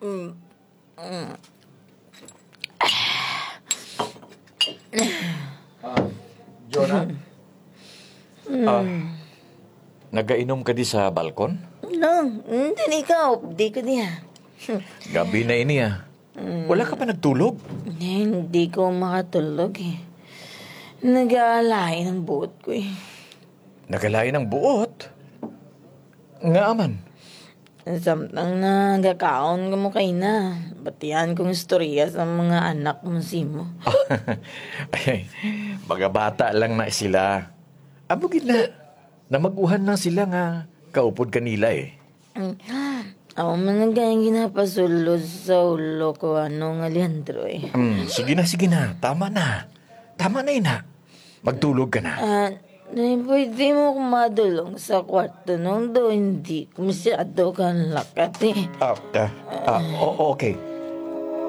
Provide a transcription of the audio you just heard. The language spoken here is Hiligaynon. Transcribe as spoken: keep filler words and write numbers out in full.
Mm. Mm. Ah, Jonah? Ah, nagainom ka di sa balkon? No, mm, dili ka, di ko diha. Gabi na ini, ah. Mm. Wala ka pa nagtulog? Hindi ko makatulog, eh. Nagalain ang buot ko, eh. Nagalain ang buot? Nga man? Samtang nagakaon ka mo kay na, batian kong istorya sa mga anak mo simo. Ay, mga bata lang na sila. Amo gid na, namaguhan lang sila nga kaupod kanila eh. Mm. Ako man ang gayang ginapasulod sa ulo ko, ano nga Leandro eh. Mm, sige na, sige na. Tama na. Tama na, ina. Magtulog ka na. Ah, Nay, pwede mo akong madulong sa kwarto nung do hindi ko masyado kalakat eh. Ah, ah, ah, o- okay.